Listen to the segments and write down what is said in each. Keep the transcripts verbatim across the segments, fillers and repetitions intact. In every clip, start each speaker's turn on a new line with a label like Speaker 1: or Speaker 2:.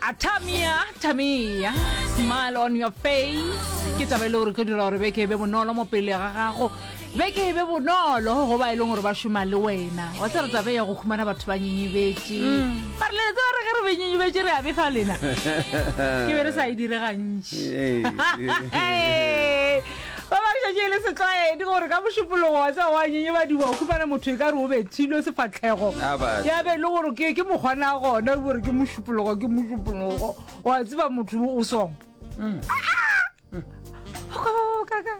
Speaker 1: Atamia, Tamia, smile on your face. Ke taba e le gore tlo dira gore beke e be bonolo mo pele ga gago. Beke e be bonolo go ba e leng gore ba šoma le wena. Wa tseba taba ya go humana batho ba nyenyebetše. Ba re le tseba re ge re be nyenyebetše re a befa lena. Ke be re sa e dire gantši. Ba ba šetše e le setlwaedi gore ka mošupologo wa tseba wa nyenyebadiwa o humana motho e ka re o bethilwe sefahlego.
Speaker 2: A batho.
Speaker 1: Ya be e le gore ke ke mokgwana gona gore ke mošupologo ke mošupologo. Wa tseba motho o song. Kaka.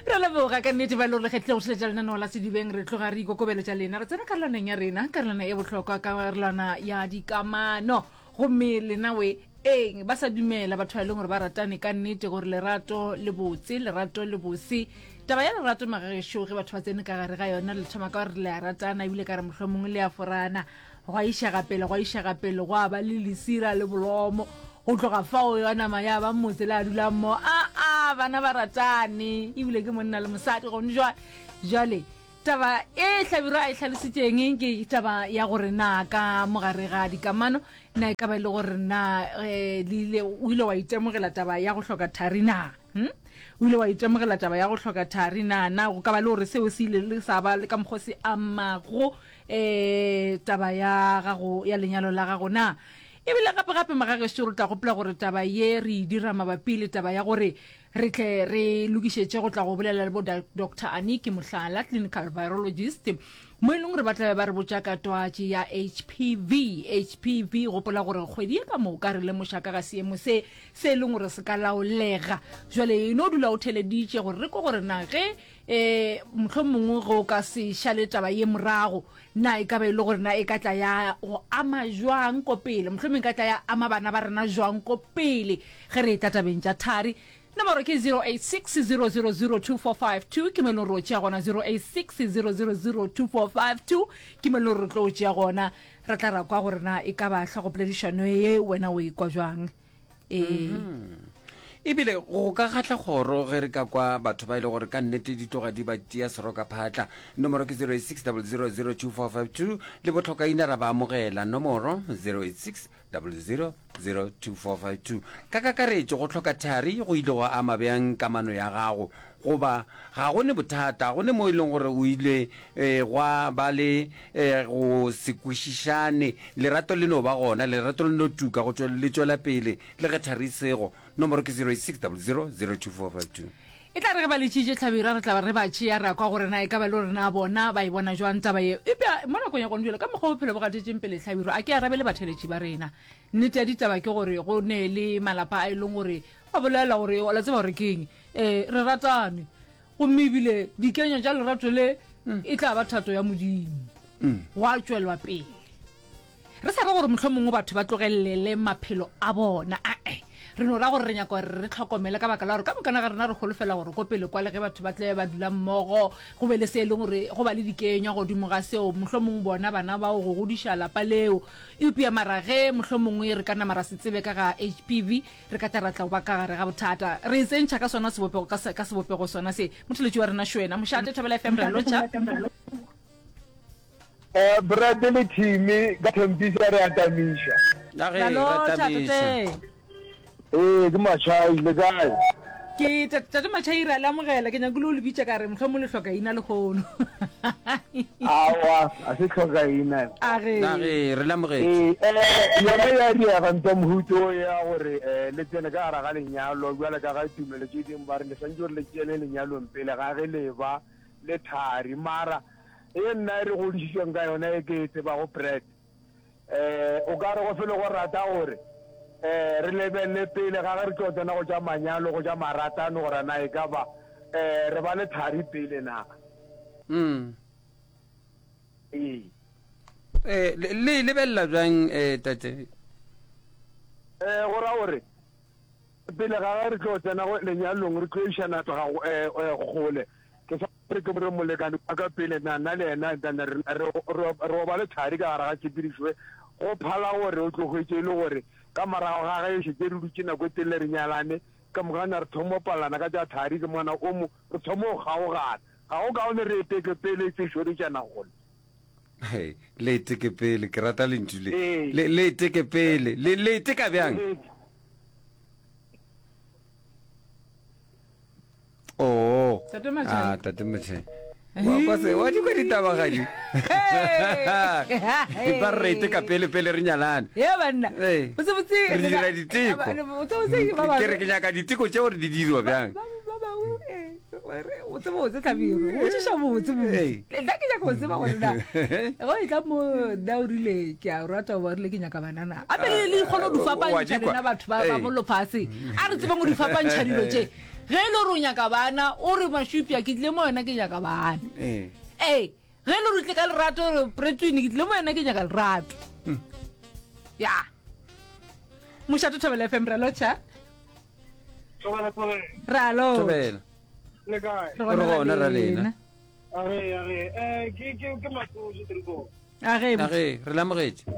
Speaker 1: Re leboga ka nnete ba e le gore le kgethile go theletša lenaneo la Sedibeng. Re tloga re ikokobeletša lena. Re tsena karolwaneng ya rena, karolwana e bohlokwa, karolwana ya dikamano. Gomme lena we eng ba sa dumela batho ba e leng gore ba ratane ka nnete gore lerato le botse, lerato le bose. Taba ya lerato magagešo ge batho ba tsene ka gare ga yona le thoma ka gore le a ratana ebile ka re mohlomongwe le a forana. Gwa išega pele, gwa išega pele, gwa ba le lesira le bolomo. Go tloga fao ya nama ya ba motse le a dulang mo. A a bana ba ratane ebile ke monna le mosadi gone jwale. Jwale taba e Hlabirwa a e hlalositšeng ke taba ya gore na ka mogare ga dikamano na e ka ba e le gore na eh, le ile o ile wa itemogela taba ya go hloka thari na? Hm? O ile wa itemogela taba ya go hloka thari na? Na go ka ba le gore seo se ile le sa ba le ka mokgwa se amago eh taba ya gago ya lenyalo la gago na? Ebile gape gape magagešo re tla gopola gore taba ye re e dira mabapi le taba ya gore re tle re lokišetše go tla go bolela le bo Doctor Aniki Mohlala, clinical virologist, mo e leng gore ba tla be ba re botša ka twatši ya H P V. H P V, gopola gore kgwedi ye ka moka re lemoša ka ga seemo se se e leng gore se ka laolega. Jwale e no dula o theleditše gore re kwe gore na ge eh mohlomongwe ge o ka se šale taba ye morago, na e ka ba e le gore na e ka tla ya go ama jwang ko pele, mohlomongwe e ka tla ya ama bana ba rena jwang ko pele ge re etla tabeng tša thari. Nomoro ke zero eight six zero zero zero two four five two, ke mo e leng gore o tšea gona zero eight six zero zero zero two four five two, ke mo e leng gore re tlo o tšea gona. Re tla ra kwa gore na e ka ba hlogopoledišano ye wena o e kwa jwang. Ee.
Speaker 2: Ebile go ka kgahla kgoro ge re ka kwa batho ba e le gore ka nnete di tloga di ba tia seroka phatla. Nomoro ke zero eight six double zero zero two four five two, le bohlokaina ra ba amogela. Nomoro zero eight six double zero zero two four five two. Ka kakaretšo, go hloka thari go ile gwa ama bjang kamano ya gago? Goba ga go ne bothata, go ne mo e leng gore o ile eh, gwa ba le eh, go se kwešišane, lerato le no ba gona, lerato le no tuka go tšwe, le tšwela pele le ge thari e sego. Nomoro ke zero eight six double zero zero two four five two.
Speaker 1: E tla re ge ba letšitše Hlabirwa re tla ba re ba tšea ra kwa gore na e ka ba le gore na bona ba e bona jwang taba ye. Eupša mo nakong ya gone bjale ka mokgwa bophelo bo gatetšeng pele Hlabirwa a ke arabele batheeletši ba rena. Nnete ya ditaba ke gore go ne le malapa a e leng gore ba bolela gore la tseba gore ke eng, eh, re ratane gomme ebile dikenyo tša lerato le e tla ba thato ya Modimo. Gwa tšwelwa pele. Re sa re gore mohlomongwe batho ba tlogelele maphelo a bona, ae, re no ra gore re nyaka gore re tlhokomele ka baka la gore ka mokana ga rena re holofela gore ko pele kwale ge batho ba tle ba dula mmogo go be le se e leng gore go ba le dikenywa godimo ga seo, mohlomongwe bona bana bao go godiša lapa leo. Eupša mara ge mohlomongwe re ka nama ra se tsebe ka ga H P V, re ka tla ra tla go ba ka gare ga bothata. Re e tsentšha ka sona sebopego, ka se, ka sebopego sona se. Motheletši wa rena Šwena, Mošate, Thobela F M, re a lotšha.
Speaker 3: Eh, Brad le Timmy ka Thembisa re atamiša.
Speaker 2: A ge,
Speaker 1: Ra
Speaker 2: re
Speaker 1: lotšha,
Speaker 2: atamiša.
Speaker 1: tate.
Speaker 3: Ee, ke Machai, le kae?
Speaker 1: Ke tate, tate Machai, re a le amogela. Ke nyakile o le bitša ka re mohlomong le hloka ina lehono.
Speaker 3: Aowa, a se hloka ina.
Speaker 1: A ge.
Speaker 2: A ge, re le amogetše.
Speaker 3: Ee, eh, yona ya diega ntwa mohuto ya gore eh, le tsene ka gare ga lenyalo bjale ka ga tumelo tše dingwe ba re le swantše gore le tsene lenyalong pele ga ge le ba le thari. Mara e nna e re godišitšweng ka yona e ke e tsebago Brad, eh, o ka re go fele go rata gore eh, re lebelele pele ga ge re tlo tsena go tša manyalo, go tša maratano, gore na e ka ba eh, re ba le thari pele na.
Speaker 2: Mm.
Speaker 3: Ee.
Speaker 2: Eh, le, le e lebelela bjang eh, tate?
Speaker 3: Eh, go ra gore pele ga ge re tlo tsena go lenyalong re tlo išana tloga go, eh, eh, kgole. Ke sa re ke re molekane wa ka pele na nna le yena then re re re ba le thari ka gare ga tshepedišo e, go phala gore o tlo hwetše e le gore ka morago ga ge e šetše re dutše nako e telele re nyalane, ke mokana re thoma go palelana ka tša thari, ke mokana o mo re thoma go kgaogana. Ga go kaone re eteke pele e tšo šoretšana kgole.
Speaker 2: Hei, le iteke pele, ke rata lentšu le.
Speaker 3: Ee.
Speaker 2: Le le iteke pele. Le le iteka bjang? Oh.
Speaker 1: Tate Machai.
Speaker 2: Ah, Tate Machai. Wa kwa se, wa di kwa ditabagadi. Ba re iteka pele pele re nyalane.
Speaker 1: Ye banna.
Speaker 2: Ee.
Speaker 1: Botsebotse
Speaker 2: Re dira diteko.
Speaker 1: Botsebotse ba
Speaker 2: Ke re ke nyaka diteko tšeo re di dirwa bjang.
Speaker 1: Ba ba bangwe eh, re o tseba botse tlhabiro. O tšiša botse botse.
Speaker 2: Ee.
Speaker 1: Nna ke nyaka go tseba gore na go e tla mo nna o rile ke a rata o rile ke nyaka banana. Ape le le kgone go di
Speaker 2: Wa
Speaker 1: fapantšha
Speaker 2: di kwa.
Speaker 1: lena batho ba ba
Speaker 2: Ee.
Speaker 1: mo lefaseng. A re tsebeng go di fapantšha dilo tše. Ge e le gore o nyaka bana o re mašupja ke tlile mo yona ke nyaka bana.
Speaker 2: Ee.
Speaker 1: Ee, ge e le gore o tlile ka lerato re Pretwin ke tlile mo yona ke nyaka lerato. Ya. Mošate Thobela F M re a lotšha.
Speaker 3: Thobela, thobela.
Speaker 1: Re a lotšha.
Speaker 2: Thobela.
Speaker 3: Le kae?
Speaker 1: Re
Speaker 2: Re gona ra lena.
Speaker 3: A re, a re, eh, ke ke ke Matsoso Triko.
Speaker 1: A ge
Speaker 2: A ge, re lamogetše.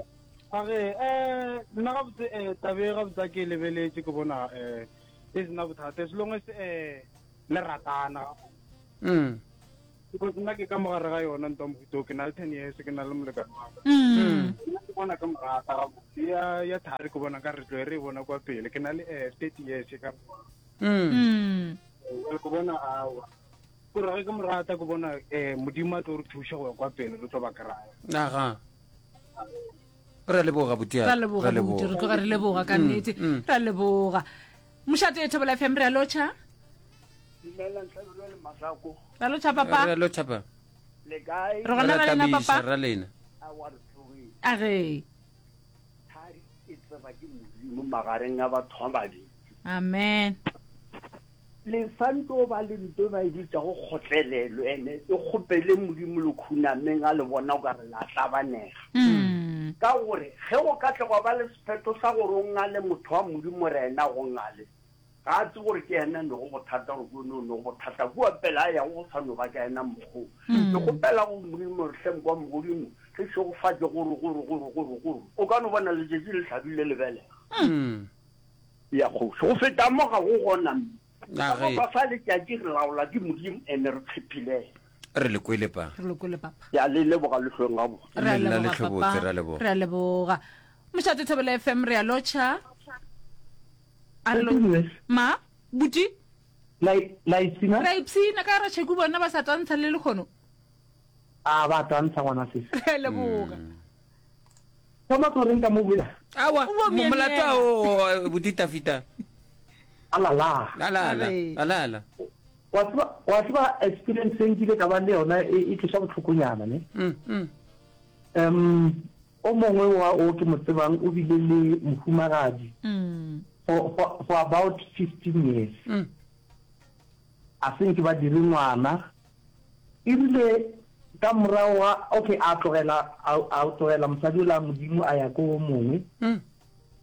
Speaker 3: A re, eh, nna gabotse eh tabe gabotse a ke e lebeletše ke bona eh e sena bothata as long as eh le ratana.
Speaker 2: Mm.
Speaker 3: Because nna ke ka mogare ga yona ntwa mohuto ke na le ten years ke na le molekane wa ka.
Speaker 1: Mm.
Speaker 3: Nna ke bona ke mo rata gabotse ya ya thari ke bona ka re tlo e re e bona kwa pele ke na le eh thirty years ka mo.
Speaker 2: Mm.
Speaker 1: Mm.
Speaker 3: Jwale ke bona awa. Gore ge ke mo rata ke bona eh modimo a tlo re thuša go ya kwa pele re tlo ba kry-a.
Speaker 2: Aga. Re a leboga buti.
Speaker 1: Ra leboga buti, re tloga re leboga ka nnete.
Speaker 2: mm.
Speaker 1: Ra leboga. Mošate Thobela F M re a lotšha.
Speaker 4: Dumelang Hlabirwa le Masako.
Speaker 1: Ra lotšha
Speaker 2: Re a
Speaker 1: papa.
Speaker 2: lotšha pa.
Speaker 4: Le kae?
Speaker 1: Re gona
Speaker 2: Re
Speaker 1: ra lena
Speaker 2: tabiša,
Speaker 1: papa.
Speaker 2: ra lena.
Speaker 4: A wa re tsogile.
Speaker 1: A ge.
Speaker 4: Thari e tseba ke Modimo magareng a batho ba babedi.
Speaker 1: Amen.
Speaker 4: Le santse o ba le nto ba e bitšago kgotlelelo ene e kgopele Modimo le khunameng a le bona o ka re la tlabanega.
Speaker 1: Mm.
Speaker 4: Ka gore ge go ka tle gwa ba le sephetho sa gore o ngale motho wa Modimo re ena go ngale, ga a tsebe gore ke yena ne go bothata gore ke one o ne go bothata kua pele a yago go sa no ba ka yena mokgwa. Ke kgopela go Modimo re hle kwa mogodimo re šegofatše gore gore gore gore gore o ka no bona letšatši le hlabile le belega.
Speaker 2: Mm.
Speaker 4: Ya kgoši go feta mo ga go gona mme.
Speaker 2: A
Speaker 4: Ka
Speaker 2: ge.
Speaker 4: ba fa letšatši re laola ke Modimo ene re tshepile.
Speaker 2: Re le kwele pa.
Speaker 1: Re lokole papa.
Speaker 4: Ya le leboga le hlweng gabotse.
Speaker 1: Re a
Speaker 2: Le nna
Speaker 1: leboga
Speaker 2: le hlobotse,
Speaker 1: papa.
Speaker 2: re a leboga.
Speaker 1: Re a leboga. Mošate Thobela F M re a lotšha. A re lo- Ma, buti,
Speaker 5: La la ipshina?
Speaker 1: re a ipshina ka ra tšheku bona ba sa tantsha le lekgono.
Speaker 5: A ba tantsha ngwana sesi.
Speaker 1: Re a leboga.
Speaker 5: Thoma tlo reng ka mo bula?
Speaker 2: Awa,
Speaker 1: O bo
Speaker 2: mo- molato
Speaker 1: myemyela.
Speaker 2: a o buti Tafita.
Speaker 5: Alala.
Speaker 2: Alala,
Speaker 1: Are.
Speaker 2: alala.
Speaker 5: Wa tseba wa tseba experience e nkile ka ba le yona e e tloša bohlokonyana ne.
Speaker 2: Mm, mm.
Speaker 5: Um o mongwe wa o ke mo tsebang o bile le mohumagadi
Speaker 1: Mm.
Speaker 5: for, for, for about fifteen years.
Speaker 2: Mm.
Speaker 5: A se nke ba dire ngwana. E rile ka morago ga okay a tlogela a a tlogela mosadi ola Modimo a ya ko o mongwe.
Speaker 2: Mm.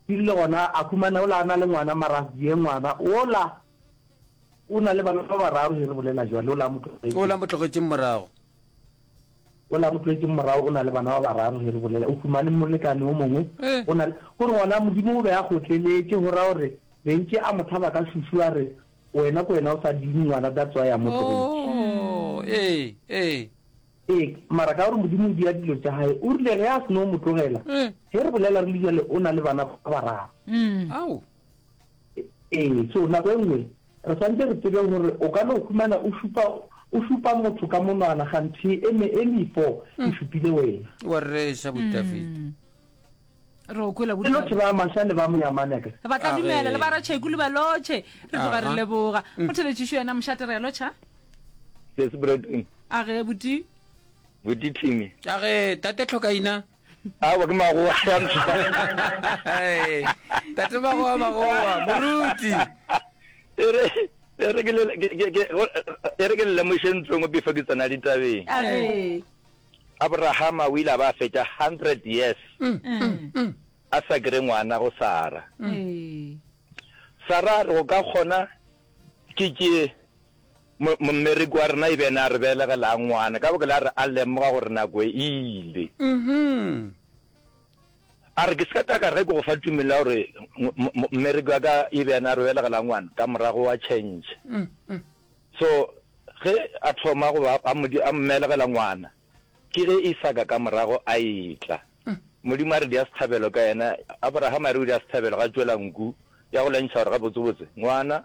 Speaker 5: E rile gona a khumana ola a na le ngwana mara a sie ngwana ola o na le bana ba bararo ge re bolela jwale ola mo tlogetše.
Speaker 2: O la mo tlogetšeng morago.
Speaker 5: Ola mo tlogetšeng morago o na le bana ba bararo ge re bolela o humane molekane o mongwe.
Speaker 2: Eh.
Speaker 5: O na le gore gona Modimo o be a kgotleletše go raya gore bentše a mo tlhaba ka šušu a re wena ko wena o sa dime ngwana that's why a mo tlogetše.
Speaker 2: Oh, ee, ee.
Speaker 5: Ee, mara ka gore Modimo o dia dilo tša hae o rile ge a seno mo tlogela
Speaker 2: Eh.
Speaker 5: ge re bolela re le jwale o na le bana ba bararo.
Speaker 1: Mm.
Speaker 2: Ao.
Speaker 5: Ee, so nako e nngwe re santse re tsebe gore o ka no humana o šupa o šupa motho ka monwana ganthe e me e mefo e šupile wena.
Speaker 2: Wa reša buti Tafita.
Speaker 1: Mm. Re o kwela
Speaker 5: Le
Speaker 1: buti.
Speaker 5: lotšhe ba Masha le ba Monyamane ka.
Speaker 1: Ba tla
Speaker 2: A
Speaker 1: dumela
Speaker 2: ge.
Speaker 1: le ba ratšheku le ba lotšhe. Re tloga re
Speaker 2: Aha.
Speaker 1: leboga. Motheletšišo yena mošate re a lotšha.
Speaker 6: Sesi Bradwin,
Speaker 1: A ge buti.
Speaker 6: buti Timmy.
Speaker 2: A ge tate Tlhokaina.
Speaker 6: Awa ke magoa ya
Speaker 2: Hey, tate magoa magoa, moruti.
Speaker 6: Ere ere ke le ke ke ke ere ke le lemoše ntho e nngwe before ke tsena ditabeng.
Speaker 1: A ge.
Speaker 6: Abrahama o ile a ba a fetša hundred years
Speaker 1: Mm.
Speaker 6: a sa kry ngwana go Sara.
Speaker 1: Ee.
Speaker 6: Sara a re go ka kgona ke ke mmereko wa rena e be ena a re belegelang ngwana ka baka la re a lemoga gore nako e ile.
Speaker 2: Mhm.
Speaker 6: A re ke se ka tla ka re ke go fa tumelo ya gore mmereko wa ka e be ena a re belegelang ngwana ka morago wa change.
Speaker 2: Mm, mm.
Speaker 6: So ge a thoma go ba a mo di a mmelegela ngwana Ke ge Isaka ka morago a etla. Modimo a re dia sehlabelo ka yena. Abrahama a re o dia sehlabelo, ga tšwela nku ya go lentšha gore gabotsebotse ngwana,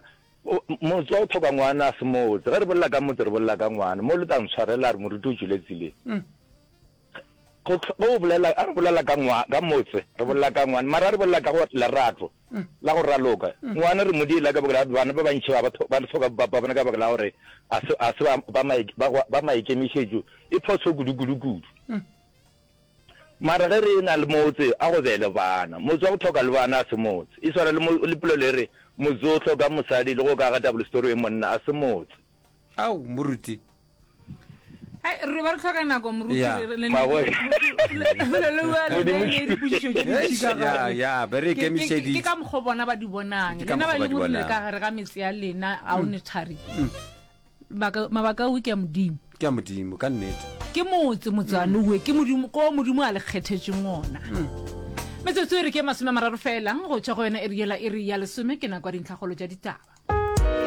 Speaker 6: motse wa go hloka ngwana a se motse. Ge re bolela ka motse re bolela ka ngwana. Mo le tla ntshwarela a re moruti o tšwele tseleng. Go, ge o bolela, a re bolela ka ngwa, ka motse, re bolela ka ngwana. Mara a re bolela ka go lerato la go raloka, ngwana re mo diela ka baka la bana ba bantši ba, ba hloka bopapa ba bona ka baka la gore a se, a se ba, ba, ba, ba maikemišetšo. E phoso kudu, kudu, kudu. Mara ge re e-na le motse, a go be le bana. Motse wa go hloka le bana a se motse. E swana le, le polelo e re, motse o hloka mosadi le go ka ga double story e monna, a se motse.
Speaker 2: Ao, moruti.
Speaker 1: Hai, re ba re hloka nako moruti
Speaker 2: Ya.
Speaker 1: re- le-
Speaker 6: Maboe.
Speaker 1: le- le- le- le- le dipotšišo tše dintši ka
Speaker 2: Ya,
Speaker 1: gare.
Speaker 2: ya, be re
Speaker 1: Ke- ke- ke
Speaker 2: ikemišeditše.
Speaker 1: ka mokgwa bona ba di bonang
Speaker 2: Ke ka
Speaker 1: lena ba
Speaker 2: mokgwa ba
Speaker 1: e
Speaker 2: di
Speaker 1: leng gore le
Speaker 2: bonang.
Speaker 1: ka gare ga metse ya lena a o ne thari Mabaka- mabaka ao ke a modimo
Speaker 2: Ke a Modimo, ka nnete.
Speaker 1: ke motse motsane owe ke modimo ko modimo a le kgethetšeng ona metsotso e re ke masome a mararo fela go tšwa go yona iri yela iri ya lesome ke nako ya dintlhakgolo tša ditaba.